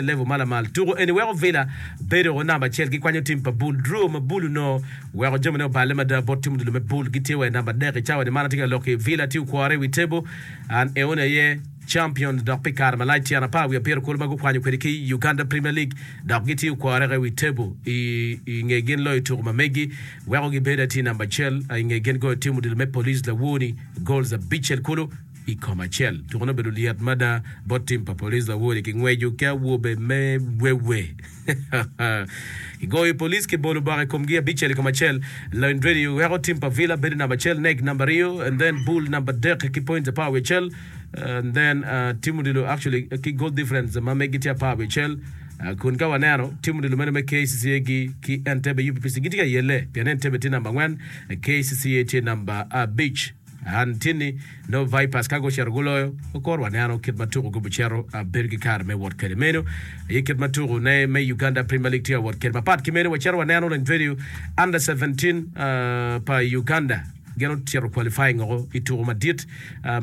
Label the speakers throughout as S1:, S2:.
S1: Level ma lamal. Tuko eni weko Villa bedo o namba acel gikwanyo tim pa bul. Draw ma bul onongo weko jamine oballe mada bot tim odilo me bul. Gitye wa i namba adek i cawa ni man atye ka lok ki Villa tye okwore i wi table and eoni aye champion dok pi kare malac tyen apar wiye abiro kulu ma gukwanyo kwede ki Uganda Premier League dok gitye okwore i wi table i nge gin loyo tuko ma megi weko gibedo atir namba acel i nge gin goyo tim odilo me Police lawoni goals abicel kulu. I kom acel. Tukone obedo lyet mada bot tim pa police lawodi ki ngweco ki awobe me wewe. Kigoyo police ki bolo bok i komgi abicel i kom acel. Lony Radio weko tim pa Villa bedo namba acel, Neg namba aryo and then Bull namba adek ki points apar wiye acel and then tim odilo actually ki goal difference ma megi tye apar wiye acel kun ka waneno tim odilo meno me KCCA gi ki Entebbe UPPC gitye ka yelle pien Entebbe tye namba angwen KCCA tye namba abic. An tye ni nongo Vipers ka gucito guloyo, kor waneno kit ma tuko gubicito bedo ki kare me wot kwede. Meno aye kit ma tuko ne me Uganda Premier League tye ka wot kwede. Mapat ki meno, wacito waneno Lony Under 17 pa Uganda gin ocito qualifying oko i tuko madit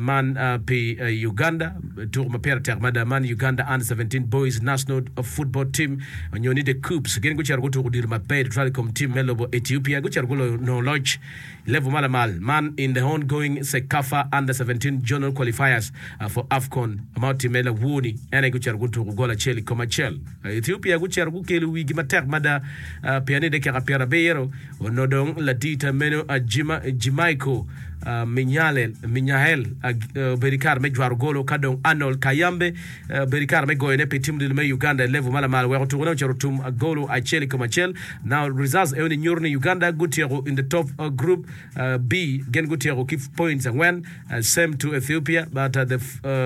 S1: man pi Uganda, tuko ma pire tek mada man Uganda Under 17 Boys National Football Team nyo ni The Cubs. Gin gucito gutuko odilo maber tutwal i kom team me lobo Ethiopia, gucito guloyo nongo loc Level ma lamal man in the ongoing CECAFA Under 17 Zonal Qualifiers for AFCON ma otimme lawor-ni, en aye gucito gutuko gol acel i kom acel. Ethiopia gucito gukelo wigi matek mada pien ni dakika pyerabiro onongo dong ladita meno Jimaiko Minyael obedo i kare me jwaro golo ka dong Arnold Kayambe Bedo i kare me goyone pi tim odilo me Uganda i level ma lamal weko tukone ocito otum golo acel i kom acel. Now results eoni nyuto ni Uganda gutyeko in the top group B gin gutyeko ki points angwen same to Ethiopia but the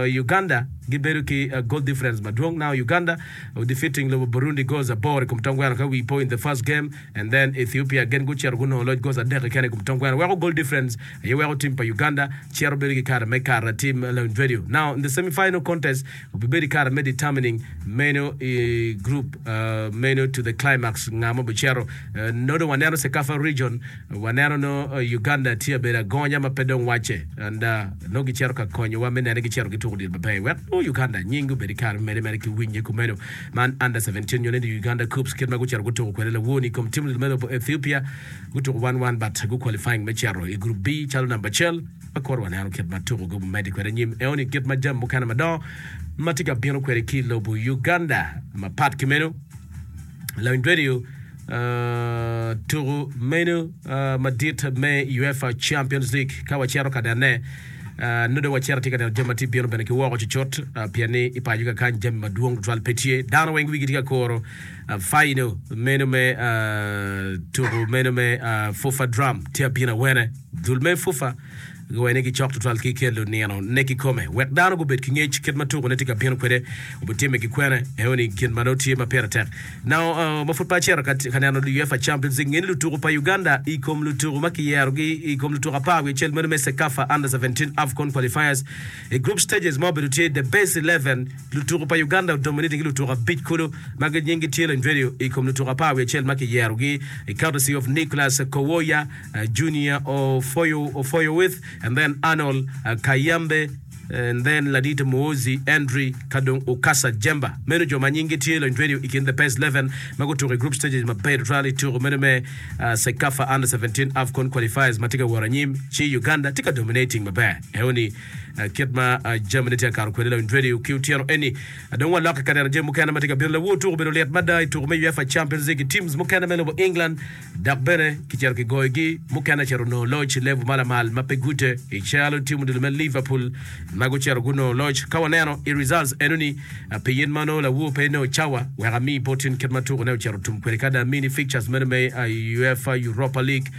S1: Uganda gibedo ki goal difference madwong. Now Uganda defeating lobo Burundi goals aboro i kom tong gweno ka wi po in the first game and then Ethiopia gin gucito gunongo loc goals adek keken i kom tong gweno weko goal difference aye weko tim pa Uganda cito bedo ki kare me kato atim lawiny radio. Now in the semi final contest obibedo i kare me determining meno i group meno to the climax nga ma obicito. Nongo dong waneno CECAFA region waneno nongo Uganda tye abedo agonya ma pe dong wacce and nongo gicito ka konyowa me nene gicito gituko odilo maber wek nongo Uganda nying obed i kare me mede mere ki winye kumeno. Man under 17 nyo ni Uganda Cubs kit ma gucito gutuko kwede lawoni i kom tim odilo me lobo Ethiopia. Gutuko wan wan but gu qualifying me cito i group B calo namba acel. Ma kor waneno kit ma tuko gi omedde kwede anyim eoni kit ma jami mukene madongo ma tye ka bino kwede ki i lobo Uganda. Mapat ki meno, lawiny radio tuko meno madit me UEFA Champions League ka wacito ka nene nongo dong wacito atye ka neno jami ma tye bino bene ki woko cucut pien ni i paco kakany jami madwong tutwal pe tye. Dano weng wigi tye ka kuro Final meno me tuku meno me FUFA Drum tye abino awene. Dul me FUFA giwaco ni gicok tutwal ki kelo nino ne kikome wek dano gubed ki ngec kit ma tuku ne tye ka bino kwede obitimme ki kwene. Eno ni gin ma nongo tye ma pire tek. Now ma pud pe acito ka neno UEFA Champions League nge ni lutuku pa Uganda i kom lutuku ma kiyerogi i kom lutuku apar wiye acel meno me CECAFA Under 17 AFCON Qualifiers i group stages ma obedo tye the best 11 Lutuku pa Uganda odominating ki lutuku abic kulu ma nyinggi tye Lendredio i kom lutuku apar wiye acel ma kiyerogi i courtesy of Nicholas Kowoya, Junior Ofoyowith and then Arnold Kayambe and then Ladito Muhoozi Henry ka dong Ukasa Jemba. Meno jo ma nyinggi tye Lendredio i kin the best 11 ma gutuko i group stages maber tutwal i tuko meno me CECAFA Under 17 AFCON Qualifiers ma tye ka wot anyim ci Uganda tye ka dominating maber. Eoni Kit ma jamine tye ka kato kwede lawiny radio ki otyeno eni, dong walokke ka neno jami mukene ma tye ka bino. Lawor tuko obedo lit mada i tuko me UEFA Champions League i teams mukene me lobo England dok bene kicito kigoyogi. Mukene ocito onongo loc i level ma lamal ma pe gute i calo team odilo me Liverpool ma gucito gunongo loc. Ka waneno i results enoni pi in ma nongo lawor pe inongo cawa wek ami bot in kit ma tukone ocito otum kwede ka dong amini fixtures meno me UEFA Europa League.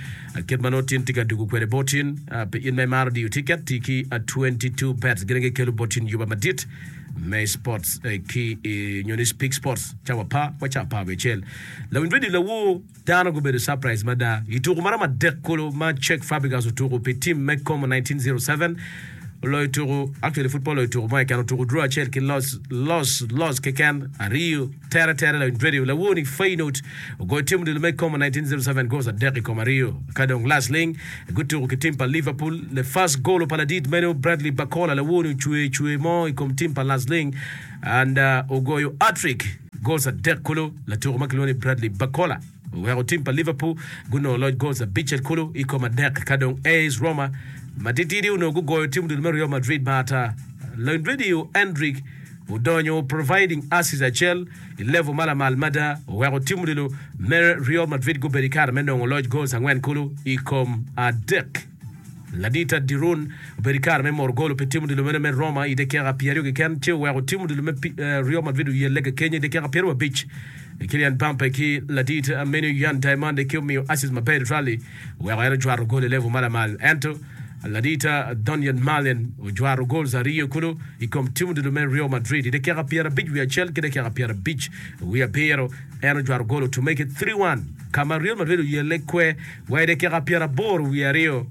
S1: Kit ma nongo tin tye ka dugo kwede bot in, pi in ma imaro diyo tiket, ti ki 22 bets. Gin aye gikelo bot in yuba madit me sports ki nyo ni Speak Sports cawa apar wa cawa apar wiye acel. Lawiny radio lawor dano gubedo surprise mada i tuko maromo adek kulu ma Cesc Fabregas otuko pi team me Como 1907. oloyo tuku, actually pud pe oloyo tuku mo keken, otuku draw acel ki loc, loc, loc keken aryo tere tere lawiny radio. Lawoni Feyenoord ogoyo tim odilo me Como 1907 goals adek i kom aryo. Ka dong last ling gutuku ki tim pa Liverpool. The first goal pa ladit meno Bradley Barcola lawoni ocwe cwe mo i kom tim pa last ling and ogoyo hat-trick goals adek kulu latuku ma kilwongo ni Bradley Barcola. Oweko tim pa Liverpool gunongo loc goals abicel kulu i kom adek ka dong AS Roma matitidi onongo gugoyo tim odilo me Real Madrid ma ata. Loinredio Endrick odonyo providing assist acel i level ma lamal mada oweko tim odilo me Real Madrid gubedo i kare me nongo loc goals angwen kulu i kom adek. Ladita Dirun obedo i kare me moro golo pi tim odilo meno me Roma i dakika pyeraryo keken ci oweko tim odilo me Real Madrid oyelle kakenyo i dakika pyeraryo Kylian Mbappe ki ladit meno Yan Diamande ki omiyo assist maber tutwal-li oweko en ojwato gol i level ma lamal. Ento ladit Donyell Malen ojwato goals aryo kulu i kom tim odilo me Real Madrid i dakika pyerabic wiye acel ki dakika pyerabic wiye abiro. En ojwato gol to make it 3-1 ka ma Real Madrid oyelle kwe wa i dakika pyeraboro wiye aryo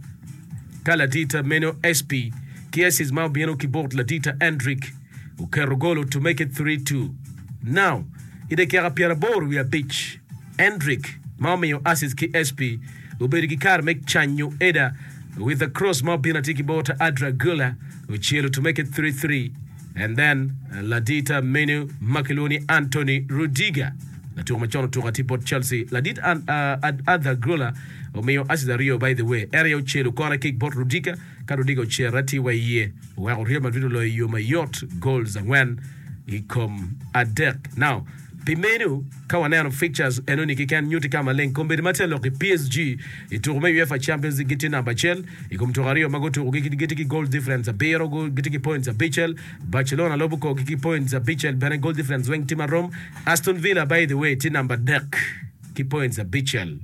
S1: ka ladit meno SP ki assist ma obino ki bot ladit Endrick oketo golo to make it 3-2. Now, i dakika pyeraboro wiye abic, Endrick, ma omiyo assist ki SP, obedo ki kare me canyo Eder with a cross ma obino atir ki bot Arda Guler, ocelo to make it 3-3 and then ladit menu ma kilwongo ni Anthony Rudiger, latuko macon otuko atir bot Chelsea. Ladit Arda Guler omiyo assist aryo by the way, en aye ocelo corner kick bot Rudiger ka Rudiger ocero atir wa iye oweko Real Madrid oloyo i yo mayot goals angwen i kom adek. Now, pi meno, ka waneno fixtures enoni keken nyutti ka maleng kombeddi ma tye lok i PSG i tuko me UEFA Champions League gitye namba acel i kom tuko aryo ma gutuko gi gitye ki goal difference abiro gitye ki points abicel. Barcelona lubo korgi ki points abicel bene goal difference weng tye marom. Aston Villa by the way tye namba adek ki points abicel.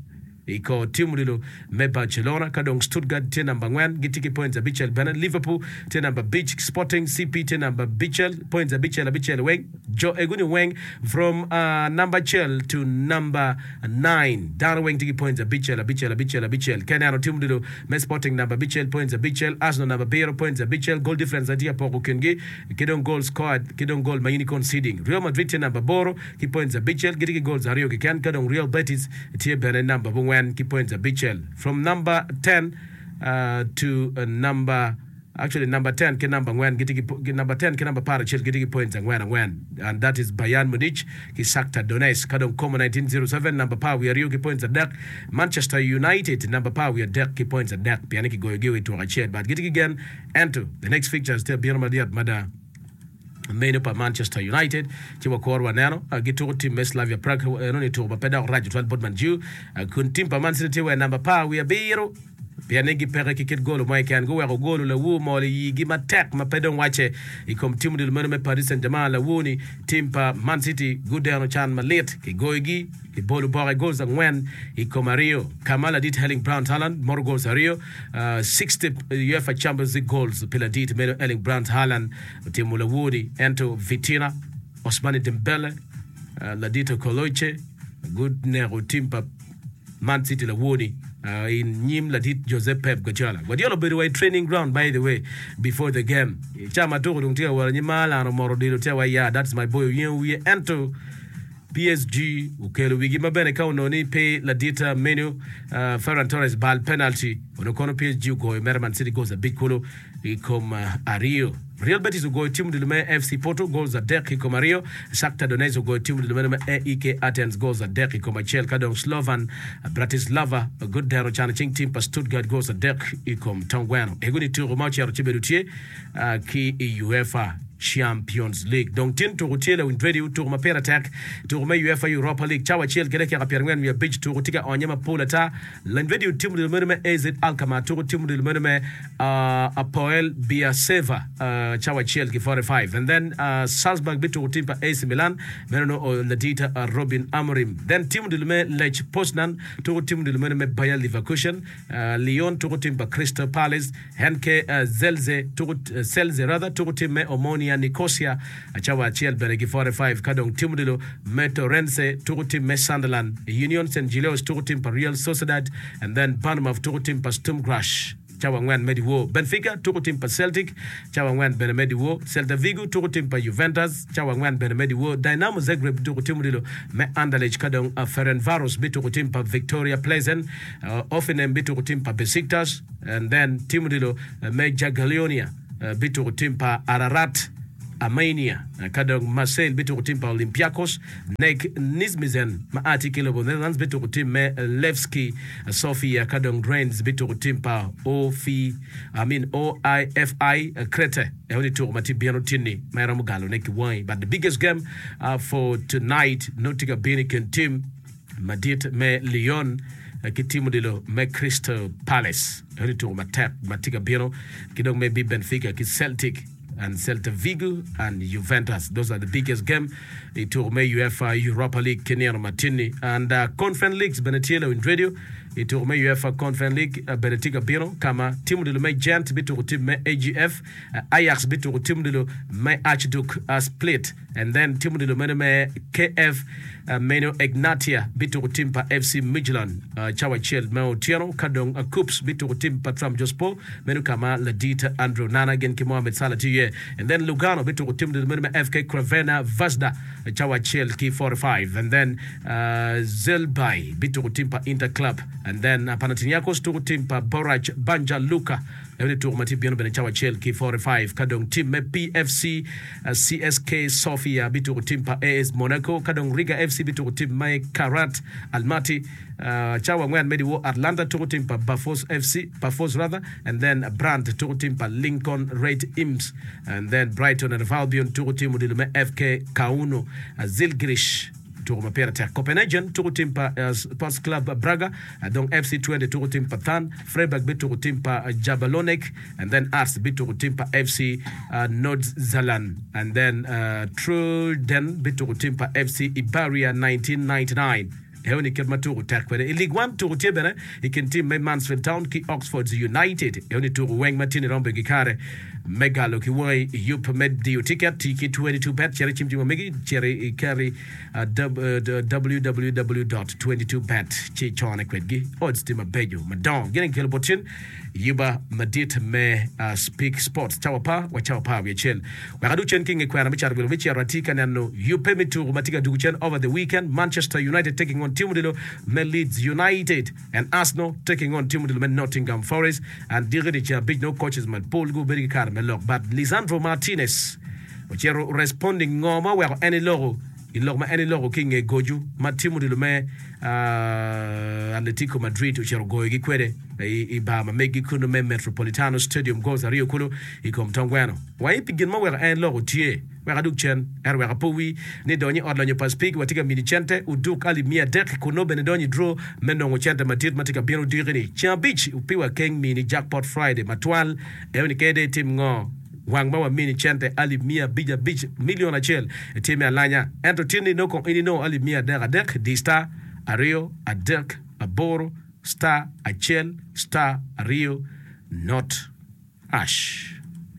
S1: I kor tim odilo me Barcelona, ka dong Stuttgart tye namba angwen, gitye ki points abicel bene. Liverpool tye namba abic, Sporting CP tye namba abicel, points abicel abicel weng. Jo egoni weng from namba acel to namba nine, dano weng tye ki points abicel abicel abicel abicel. Ka ineno tim odilo me Sporting namba abicel, points abicel, Arsenal namba abiro, points abicel, goal difference aye tye ka poko kingi ki dong goal scored ki dong goal ma in i conceding. Real Madrid tye namba aboro ki points abicel, gitye ki goals aryo keken, ka dong Real Betis Tye bene namba abongwen ki points abicel from number 10 to number actually number 10 ki namba angwen gitye ki number 10 ki namba aparacel gitye ki points angwen angwen and that is Bayern Munich ki Shakhtar Donetsk ka dong Como 1907 namba apar wiye aryo ki points adek Manchester United namba apar wiye adek ki points adek pien ni kigoyogi i twok acel but gitye ki gen ento the next fixtures tye abino malyet mada. Meno pa Manchester United ci wakuro waneno gituko tim me Slavia Prague enoni tuko ma pe dok rac tutwal bot Man U kun tim pa Man City tye wa i namba apar wiye abiro pien ni gipeke ki kit golo mo keken guweko golo lawu omol i yigi matek ma pe dong wacce i kom tim odilo meno me Paris Saint-Germain lawu-ni tim pa Man City gudeno can malit kigoyogi Kibolo boke goals angwen i kom aryo ka ma ladit Erling Brandt Haaland moro goals aryo, 60 UEFA Champions League goals pi ladit meno Erling Brandt Haaland otimo lawodi ento Vitina, Ousmane Dembele, ladit Okoloche guneko tim pa Man City lawodi i nyim ladit Jose Pep Guardiola. Guardiola obedo wa i training ground by the way before the game. I ca ma tuko dong tye ka wot anyim ma Haaland omoto odilo tye wa ya that's my boy oyengo wiye ento PSG okelo wigi ma bene ka onongo ni pe ladit menu Ferran Torres bal penalty onongo kono PSG ogoyo mere Man City goals abic kulu i kom aryo. Real Betis ogoyo tim odilo me FC Porto goals adek i kom aryo. Shakhtar Donetsk ogoyo tim odilo meno me AEK Athens goals adek i kom acel ka dong Slovan Bratislava gudeno cano cing tim pa Stuttgart goals adek i kom tong gweno. Ego-ni tuko ma ocito ci bedo tye ki i UEFA Champions League. Dong tin tuko tye lawiny radio, tuko ma pire tek, tuko me UEFA Europa League cawa acel ki dakika pyerangwen wiye abic, tuko tye ka onye mapol ata. Lawiny radio timo odilo meno me AZ Alkmaar tuko timo odilo meno me Apoel Beersheva cawa acel ki 45 and then Salzburg bituko tim pa AC Milan meno nongo ladit Robin Amorim. Then timo odilo me Lech Poznan tuko timo odilo meno me Bayer Leverkusen, Lyon tuko tim pa Crystal Palace. NK Zelze tuko Celze rather tuko tim me Omonia Nicosia cawa acel bene ki 45 ka dong tim odilo me Torrense tuko tim me Sunderland, Union St Gilloise tuko tim pa Real Sociedad and then Bournemouth tuko tim pa Sturm Graz. cawa angwen me dyewor. Benfica tuko tim pa Celtic cawa angwen bene me dyewor. Celta Vigo tuko tim pa Juventus cawa angwen bene me dyewor. Dynamo Zagreb bituko tim odilo me Anderlecht ka dong Ferencvaros bituko tim pa Viktoria Plzen. Hoffenheim bituko tim pa Besiktas and then tim odilo me Jagiellonia bituko tim pa Ararat Armenia ka dong Marseille bituko tim pa Olympiacos. NEC Nijmegen ma a tye ki i lobo Netherlands bituko tim me Levski Sofia ka dong Rennes bituko tim pa OFI, I mean OIFI Crete. Eno ni tuko ma tye bino tinni ma iromo galone ki wangi. But the biggest game for tonight nongo tye ka bino i kin tim madit me Lyon ki tim odilo me Crystal Palace. Eno ni tuko matek ma tye ka bino ki dong maybe Benfica ki Celtic. and Celta Vigo and Juventus. Those are the biggest game i tuko me UEFA Europa League ki nino matinni. And uh, Conference Leagues bene tye lawiny radio i tuko me UEFA Conference League uh, bene tye ka bino ka ma tim odilo me Gent bituko tim me AGF, uh, Ajax bituko tim odilo me Archduke uh, Split and then tim odilo meno me KF uh, meno Egnatia bituko tim pa FC Midtjylland uh, cawa acel me otyeno ka dong uh, Kups bituko tim pa Trabzonspor Meno ka ma ladit Andrew Onana gin ki Mohamed Salah tye iye. And then Lugano bituko tim odilo meno me FK Crvena Zvezda cawa acel ki 45. And then uh, Zelbay bituko tim pa Inter Club. And then uh, Panathinaikos tuko tim pa Borac Banja Luka. Eno ni tuko ma tye bino bene cawa acel ki 45. Ka dong tim me PFC uh, CSK Sofia bituko tim pa AS Monaco. Ka dong Riga FC bituko tim me Kairat Almaty. Cawa angwen me dyewor, Atlanta tuko tim pa Bafos FC, Pafos rather, and then Brandt tuko tim pa Lincoln Red Imps, and then Brighton and Hove Albion tuko tim odilo me FK Kauno, Zilgrish tuko ma pire tek. Copenhagen tuko tim pa Sports Club Braga, dong FC Twente tuko tim pa Thun, Freiburg bituko tim pa Jablonec, and then Arts bituko tim pa FC Nordsjælland, and then Truiden bituko tim pa FC Iberia 1999. Eo ni kit ma tuku tek kwede i League One. Tuku tye bene i kin tim me Mansfield Town ki Oxford United. Eo ni tuku weng ma tye ni romo bedo ki kare me galo ki wangi i yub me diyo tiket. Ti ki 22 bet, cit i cim cim ma megi, cit i keri www dot 22 bet ci icone kwedgi. Odds tye mabeco madongo. Gin aye kikelo bot cen. Yuba madit me Speak Sports cawa apar wa cawa apar wiye acel. Wek adug cen ki i nge kwena me cato wil me cito atye ka neno yubbe me tuku ma tye ka dugu cen over the weekend, Manchester United taking on tim odilo me Leeds United and Arsenal taking on tim odilo me Nottingham Forest and diki dyeceng abic nongo coaches mapol gubedo ki kare me lok but Lisandro Martinez ocito responding ngo ma oweko en eloko I lok ma en eloko ki i nge goco ma tim odilo me Atletico Madrid ocito goyogi kwede i bar ma meggi kunnu me Metropolitano Stadium goals aryo kulu i kom tong gweno. Wangi pi gin ma oweko en eloko tye wek adug cen ento wek apowi ni donyo i ot lonyo pa Speke watye ka mini cente oduk alip 300 kun nongo bene donyo i draw me nongo cente madit ma tye ka bino odiki ni ceng abic pi wa keng mini jackpot Friday matwal eno ni kede itim ngo Wang ma wamini cente alip 500 abic, milion acel, tye me alanya. Ento tin-ni nongo kong in inongo alip 300 adek, di star aryo adek aboro star acel star aryo not hash.